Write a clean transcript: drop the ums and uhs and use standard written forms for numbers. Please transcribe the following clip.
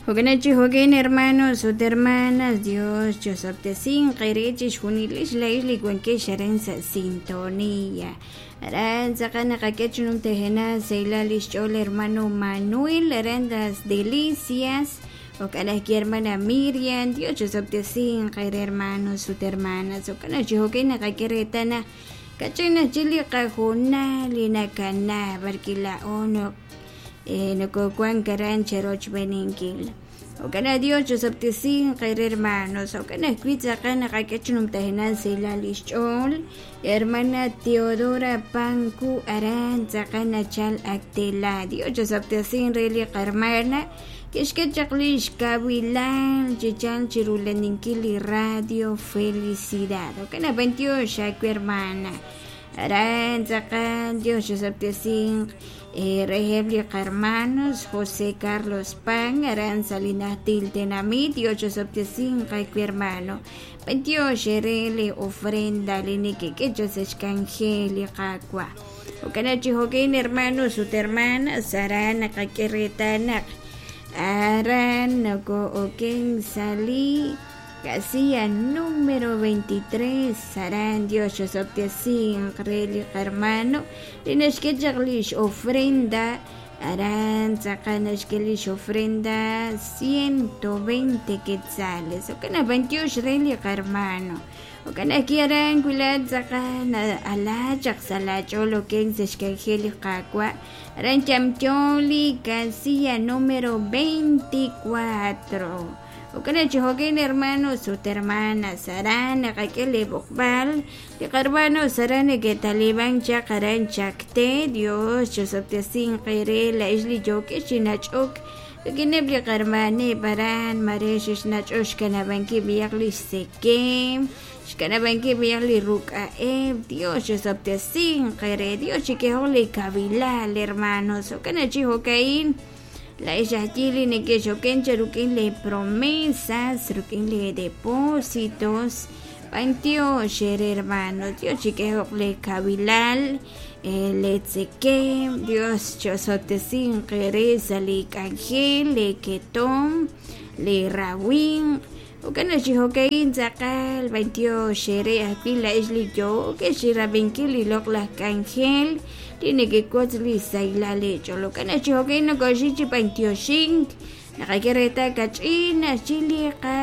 Jo'kan chi jo'kan, hermanos ut hermanas, Dios chosob'tesinq eere chixjunilex laa'ex li wankex aran sa' sintonía. Aran tz'aqal naqak'e chi numtajenaq sahilal lix ch'ool hermano Manuel aran Las Delicias. Jo'kan ajwi' hermana Miriam, Dios chosob'tesinq eere, hermanos ut hermanas. Jo'kan chi jo'kan naqak'e reetal naq kach'in ajwi' li qahoonal li nakana b'arwi' laa'o nokowank aran cherochb'eeninkil. Jo'kan naq Dios chosob'tesinq eere, hermanos. Jo'kan ajwi' tz'aqal naqak'e chi numtajenaq sahilal lix ch'ool hermana Teodora Panku aran tz'aqal nachal Actela. Dios chosob'tesinq re li qarmana kixk'e chaq lix kawilal chi chalk chi rula'aninkil li radio Felicidad. Jo'kan naq b'antiox aawe, hermana. Aran tz'aqal Dios chosob'tesinq reheb' li qarmanos José Carlos Pan aran sa' li najtil tenamit. Dios chosob'tesinq aawe, hermano. B'antiox eere li ofrenda li nekek'e chaq sa' xk'anjel li Qaawa'. Jo'kan naq chi jo'kan, hermanos ut hermanas, aran naqak'e reetal naq aran noko'oken sa' li casilla número 23. Aran Dios chosob'tesinq re li qarmano li naxk'e chaq lix ofrenda aran tz'aqal naxk'e lix ofrenda 120 quetzales. Jo'kan naq b'antiox re li qarmano. Jo'kan ajwi' aran wila tz'aqal ala chaq sa' laach'ool oken sa' xk'anjel li Qaawa' aran yamyo li casilla número 24. Jo'kan naq chi jo'kan, hermanos ut hermanas, aran naqak'e li b'oqb'al li qarmanos aran neke'taliban chaq aran Chacté. Dios chosob'tesinq eere laa'ex li yookex chi nach'ok rik'ineb' li qarmaneb' aran mare xexnach'ok xkanab'ankil b'ayaq li xsekem, xkanab'ankil b'ayaq li ruk'a'eb'. Dios chosob'tesinq eere. Dios chik'ehoq li kawilal, hermanos. Jo'kan naq chi jo'ka'in laa'ex ajwi' li nekexoken chaq rik'in lee promesas, rik'in lee depósitos, b'antiox eere, hermano. Dios chik'ehoq lee kawilal, lee tzekem. Dios chosob'tesinq eere sa' li k'anjel, lee ketom, lee rawimq. Jo'kan naq chi jo'ka'in tz'aqal b'antiox eere ajwi' laa'ex li yookex chirab'inkil li loq'laj k'anjel li nekewotz li sahilal eech'ool. Jo'kan naq chi jo'ka'in nokoxik chi b'antioxink naqak'e reetal kach'in ajwi' li qa